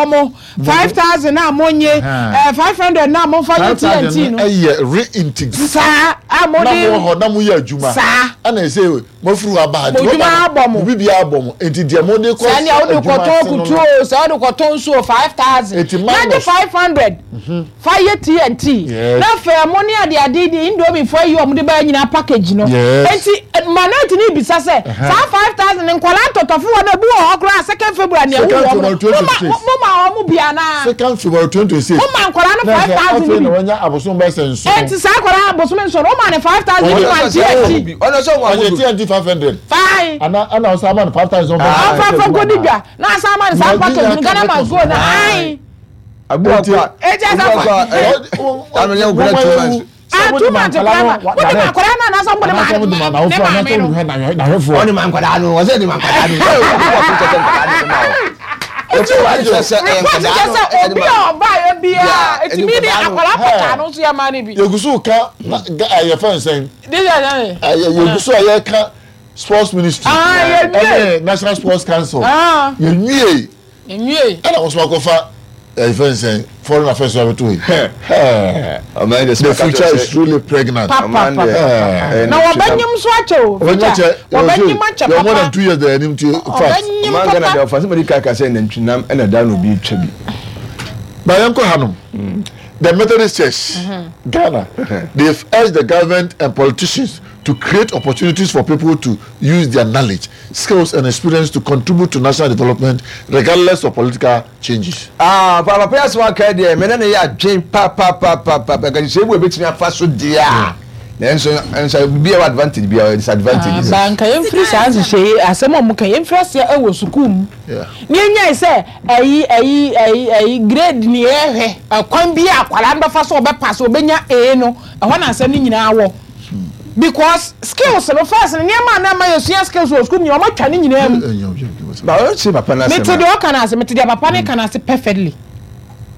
wɔn 5,000 a monnye, 500 no a momfa nyɛ TNT no. 5,000 no yɛ reintegrate. Saa, a mode. Na mowɔ hɔ na moyɛ adwuma. Saa. Ɛna ɛsɛ mofiri hɔ aba ha. Mo adwuma abɔ mo. Mo biribiara abɔ mo. Nti deɛ mode kɔ Sɛ nea wode adwuma kɔtɔn ase no kutuo no. o, sɛ wode kɔtɔn nsuo o, 5,000. Nti Na gye minus. 500 fa yɛ TNT. Yes. Na afei ɛmo ne adeade de Indomie foɔ ayi wɔn de bɛyɛ nyinaa package no. Yes. Nti Manette no rebisa sɛ, saa 5,000 no nkwadaa ntɔtɔfewa no ebi wɔ hɔ koraa second February na ɛwu Second wɔn no, February moma 2026. moma wɔn bi anaa? Second February 2026. Moma nkwadaa no Na sɛ 5,000 afei no na bi. wanya abosom bɛyɛ sɛ nson. Enti saa akwadaa abosome nson no woma no 5,000 Ɔyɛ no ma TNT. Ɔno sɛ ɔmo Ɔyɛ amodo. TNT 500. Fine. Ana ana ɔsan ama no 5,000 ɔmfa Ɔmfa nkɔ mfa adwuma nkɔdi anaa? dwa na asan ama no saa Na package no Nigeria Ghana ka must go no ae. Abu Eti- akɔ a. Eti asa Obi akɔ a, ano yɛ nkɔla 2 months. Ah, 2 months koraa ma wode ma akwadaa no anaasɛ wode ma ne maame no? Ɔne ma nkwadaa no, ɔsɛ de ma nkwadaa no. Eti report kyerɛ sɛ obi a ɔbaeɛ biara ɛtumi de akwadaa pɔtaa no nso yɛ ma no bi. Yɛgu so ka yɛfɛ nsɛn. This is Yɛgu so a yɛka sports ministry. Ah, yɛnwie. Ɛne National Sports Council. Ah. Yɛnwie. Nwie. Ɛna wɔn nso akɔfa yɛfɛ nsɛn foreign affairs abɛto yi. The future is truly pregnant. Pa pa pa pa. Na wɔbɛnyim nso akyɛ o. Future wɔbɛnyim akyɛ Yɛ more papa. than 2 years da anim ti fast. Ɔbɛnyim Ɔman Ghana papa. deɛ ɔfa sɛ mɛdi kaka sɛ nantwinam ɛna da na obi twa bi. But yɛnkɔ hanom. The Methodist Church, Ghana, they've urged the government and politicians to create opportunities for people to use their knowledge, skills, and experience to contribute to national development regardless of political changes. Ah, papa papa asɛm aka yi deɛ mene ne yɛ adwen papapapapa nka sɛ ebu ebetumi afa so deɛ a nanso nso bibi a ɛwɔ advantage bi a ɛwɔ disadvantage. Ba nka yɛmfiri saa nhyehyɛ yi asɛm a wɔka yɛmfiri aseɛ wɔ sukuu mu na yɛnyae sɛ ayi ayi ayi ayi grade ne yɛhwɛ ɛkwan bi a akwadaa no bɛfa so ɔbɛpa so ɔbɛnya A no, ɛhɔ na asɛm no nyinaa wɔ, because skills no first no nneɛma a na ɛma yɛsua skills wɔ sukuu mu nyinaa wɔatwa ne nyinaa mu. Ba ɔnkyerɛ papa no asɛm Mete deɛ ɔka no ase, mete deɛ papa no ka no ase perfectly.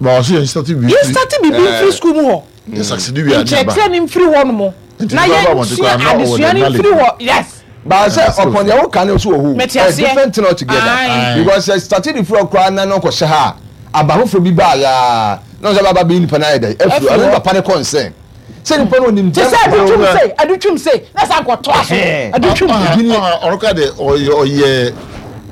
Ba ɔsɛ yɛn start bi. Yɛn start biribi mfiri sukuu mu hɔ. Yɛn succeed wi a ne aba. Nkyerɛkyerɛ no mfiri hɔ nom Nti na nipa ba abɔnten yɛnsua koraa na ɔwɔ adesua the no knowledge. mfiri hɔ, yes. Ba sɛ ɔpɔn deɛ woka no nso wɔ hɔ o. Mete Ɛyɛ aseɛ. different thing altogether. Aye. Because sɛ start de firi hɔ koraa na na ɔkɔhyɛ ha a, aba foforɔ bi baa yaa na ɔsɛ aba bɛyi nipa no ayɛ dɛ afiri hɔ. Ɛno ne papa no concern. Sɛ nipa no ɔnim Te sɛ adutwum sei, adutwum sei, na san kɔtoa so. Adutwum. Ɔno ka de ɔyɛ ɔyɛ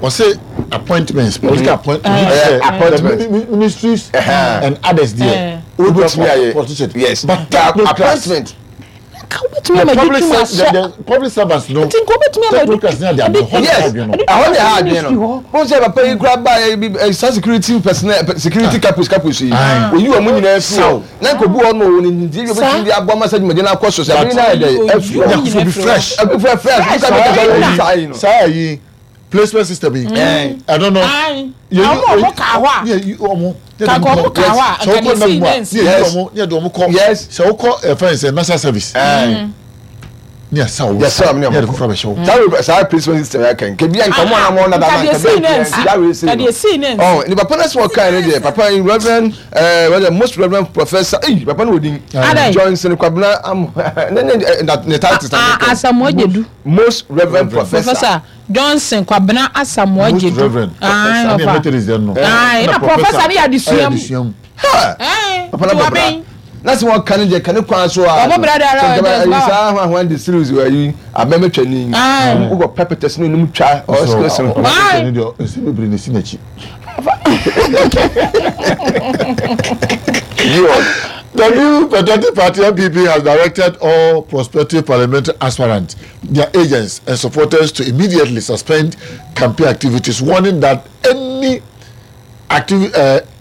ɔsɛ appointments, political appointments, appointment, ministries and others deɛ. Wobɛtumi ayɛ. Politician. Yes. But technocrats. Appointment. Nka wobɛtumi ama The public adutwum ser- ahyɛ. the public servants no. Nti nka wobɛtumi ama Technocrats ne ade ade hɔ na Yes, adwene no. ɛhɔ na ɛha adwene no. Wɔn sɛ papa yi kura ba yɛ bi ɛ sa security personnel security kapos kapos yi. Oyi wɔn nyinaa fi hɔ. Na nka obi wɔ hɔ no wɔn ne nti ebi obetumi de aboa ma sɛ dwumadie no akɔ so sɛ abiri na ayɛ dɛ afi hɔ. Yakufo bi fresh. Ɛbi fresh fresh. Fresh, Nka bi kasa ɔbɛn wɔn na. saa yi no. Saa yi placement system yi. Ɛno no. Aye. Ɔmo a ɔmo kaa hɔ a. Ne yɛ ɔmo. Kaka ɔmo kaa hɔ a, Sɛ nka wokɔ deɛ nam esii mu a, ne nsi. ne yɛ yi ɔmo, ne yɛ de ɔmo kɔ. Yes. Sɛ wokɔ ɛfɛn sɛ national service. Ne yɛ sa ɔmo. Yɛ sa ɔmo ne Ne yɛ de ɔmo foforɔ abɛhyɛ wo. Saa wei saa placement system yɛ kan. Kebi a nka ɔmo anam ɔmo nada Nka na deɛ nka esii bi ne a nsi. nka wei sei Nka no. deɛ esii ne nsi. Ɔn ne papa no sɛ ɔkan ne deɛ papa yi reverend ɛɛ reverend most reverend professor eyi papa no wɔ din. Adɛn? Johnson Kwabena Am ne ne ɛ na ne titles na Ah, ne kan. Asamoah Gyedu. Most reverend professor. Professor Johnson Kwabena Asamoah Most Gyedu. reverend. Aye, Ɛne yɛ ɔfa. Methodist deɛ no. Aye, na professor ne yɛ adesua Ɛyɛ mu. adesua mu. Ha! Aye, Papa no nti bɔ bra. wabɛn. Na sɛ wɔka ne deɛ ka ne kwan so a. Ɔbɔ bra de ara Sɛ ɔyɛ nka dɛ, ayi saa ho ahoa de series wɔ ayi abɛmɛtwani. Aye. Wokɔ pɛpɛtɛs ne onum twa ɔsɛ Aye. Ɔsɛ ne deɛ nsɛm bebree na esi n'akyi. The New Patriotic Party (NPP) has directed all prospective parliamentary aspirants, their agents, and supporters to immediately suspend campaign activities, warning that any activi-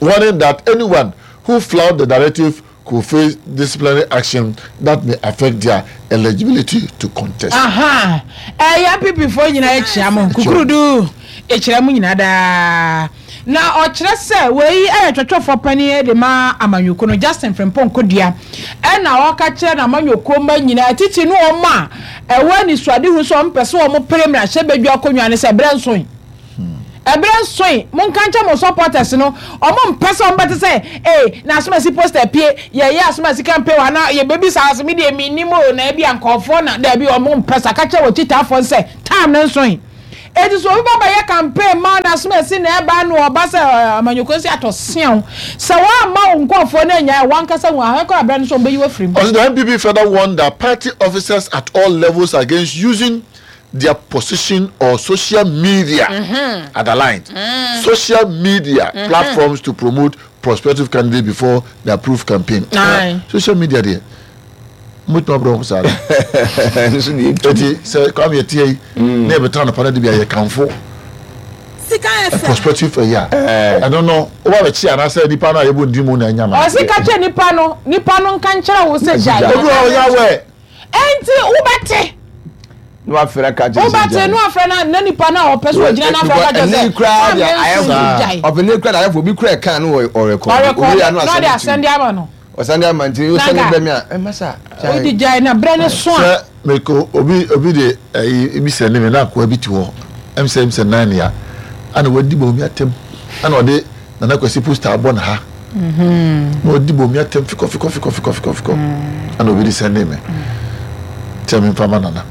warning that anyone who flouts the directive could face disciplinary action that may affect their eligibility to contest. Aha, ɛyɛ NPP foɔ nyinaa akyia mo kukurudu ɛkyerɛ mo nyinaa daa na ɔkyerɛ sɛ wei ɛyɛ twɛtwɛfoɔ panin de ma amanyɔkuo no, Justin Frimpong Kodua, ɛna ɔka kyerɛ n'amanyɔkuo mma nyinaa, titi ne wɔn a ɛwɔ anisoadehu sɛ wɔn pɛ sɛ wɔn pere mmarahyɛbadwa akonnwa no sɛ ɛberɛ nsoe. Ɛberɛ nsoe, monka nkyɛ mo supporters no, wɔn mpɛ sɛ wɔn bɛte sɛ ee na asomasi poster pie, yɛyɛ asomasi campaign wɔ ha na yɛbɛbisa ase, me deɛ mennim o, na ebi a nkɔɔfoɔ na daabi, wɔn mpɛ sa. Ka kyerɛ wɔ kyitaafoɔ no sɛ time no nsoe. Eti sɛ obi ba bɛyɛ campaign ma na asomasi Akwasi na ɛba no ɔba sɛ amanyɔkuo si atɔ seaw. Sɛ woamma wo nkurɔfoɔ no anyae a, w'ankasa hu ahwɛ koraa berɛ no so wɔbɛyi wo afiri mu. Ɔse the NPP further warned that party officers at all levels against using their position or social media, underlined, social media platforms to promote prospective candidate before the approved campaign. Aye. Social media deɛ, mobɛtumi abrɛ ho saa de. Nso deɛ etu. Eti sɛ Kwame yɛteɛ yi, na yɛbɛtena anɔpa no de bi a yɛkamfo prospective ɛyi a, ɛno no woba bɛkye anaasɛ nipa no a yɛbɔ ne din mu na anya ma. Ɔse ka kyerɛ nipa no, nipa no nka nkyerɛ wo sɛ gyae. Obi wɔ hɔ ɔnyɛ aware. Enti wobɛte. Na wafrɛ ka kyerɛ sɛ Wobɛte gyae. na wafrɛ na na nipa no a ɔpɛ sɛ ɔgyina no afrɛ ka kyerɛ Ɛnne sɛ yi koraa deɛ maame ayɛ nso fo. gyae. Ɔpɛ ne koraa deɛ ayɛ fo. Obi koraa ɛka no wɔ ɔrekɔde. Ɔrekɔde Owie a na na ɔde wasɛnde asɛnde to ama no. Ɔsɛnde ama nti wosɛnde Nanka brɛ me a ɛma sa. Gyae. wode gyae na berɛ no so a. Sɛ mekɔ obi obi de ɛyi ebi sɛnde me na akoa bi te hɔ ɛm sɛ ɛm sɛ nan ya ɛna wadi bɔ omi atɛm ɛna ɔde Nana Kwasi poster abɔ ne ha na ɔdi bomi atɛm fikɔ fikɔ fikɔ fikɔ fikɔ fikɔ ɛna obi de sɛnde me sɛ memfa ma Nana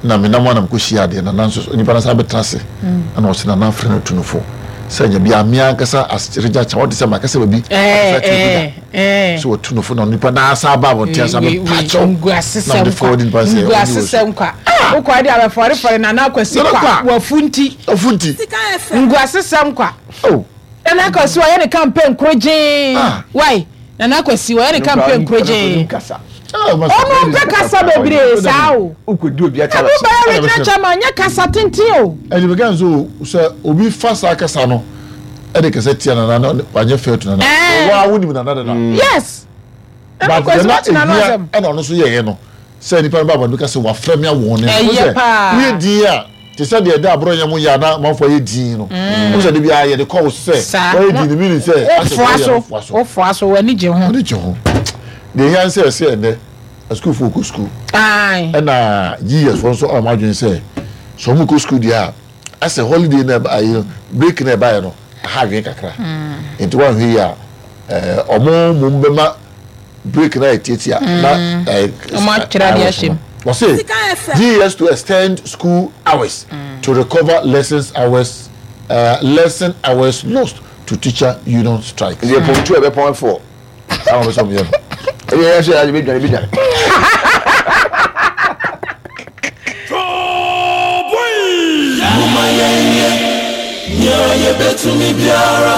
na menam anam kɔhyia adeɛ Nana nso nipa no san bɛtena ase ɛna ɔsɛ Nana afrɛ no tu no fo sɛ nya bi a me ankasa asregya kyɛ wɔde sɛ makasa baabi akasa kyerɛ bi da sɛ wɔtu no fo na nipa na asa aba abɔnten asa bɛpakyɛw na mede fɔwɔ de nipa sɛ nguasesɛm kwa wokɔ de abɛfɔrefɔre Nana Akwasi kwa wafu nti wafu nti nguasesɛm kwa oh Nana Akwasi wɔyɛ ne campaign koro gyee Ah. wai Nana Akwasi wɔyɛ ne campaign koro gyee ɔno ɔno mpɛ kasa bebree saa o Wokɔdi obi na akyɛ mo bɛyɛ regional chairman nyɛ kasa tenten o ɛdi bɛka nso sɛ obi fa saa kasa no ɛde kasa tia Nana na wanyɛ fair to Nana Eh. waa wonim Nana dada yes Nana but Akwasi deɛ na watena no ehia asɛm ɛna ɔno nso yɛyɛ no sɛ nipa no ba abɔnten ka sɛ wafrɛ me awɔ ne Ɛyɛ paa. woyɛ din a te sɛ deɛ ɛda aborɔ nyɛ mo yɛ a na amanfoɔ ayɛ din no wo sɛ de bi a yɛde kɔ wo so sɛ Saa. wɔyɛ din no meaning sɛ asɛ wofoa wɔyɛ so no foa so wofoa so w'ani gye ho ɔne gye ho deɛ ehia ne sɛ ɛsɛ ɛnɛ asukuufoɔ kɔ sukuu Ae. ɛna GES foɔ nso ama adwene sɛ sɛ wɔn kɔ sukuu deɛ a asɛ holiday na ɛba ayi no break na ɛbaeɛ no aha adwene kakra nti wɔanhwɛ yie a ɛɛ wɔn mom bɛma break na yɛ tiatia na ɛɛ Wɔn atwerɛ adeɛ ahyɛ mu. Wɔse GES to extend school hours to recover lessons hours uh, lesson hours lost to teacher union strike. Nti ɛpɔn tu a ɛbɛpɔn fɔ. Saa wɔn bɛ sɛ wɔn yɛ no. Ɛbi yɛ sɛ ɛbi dwane bi dwane. Momma yɛnyɛ nea yebetumi biara.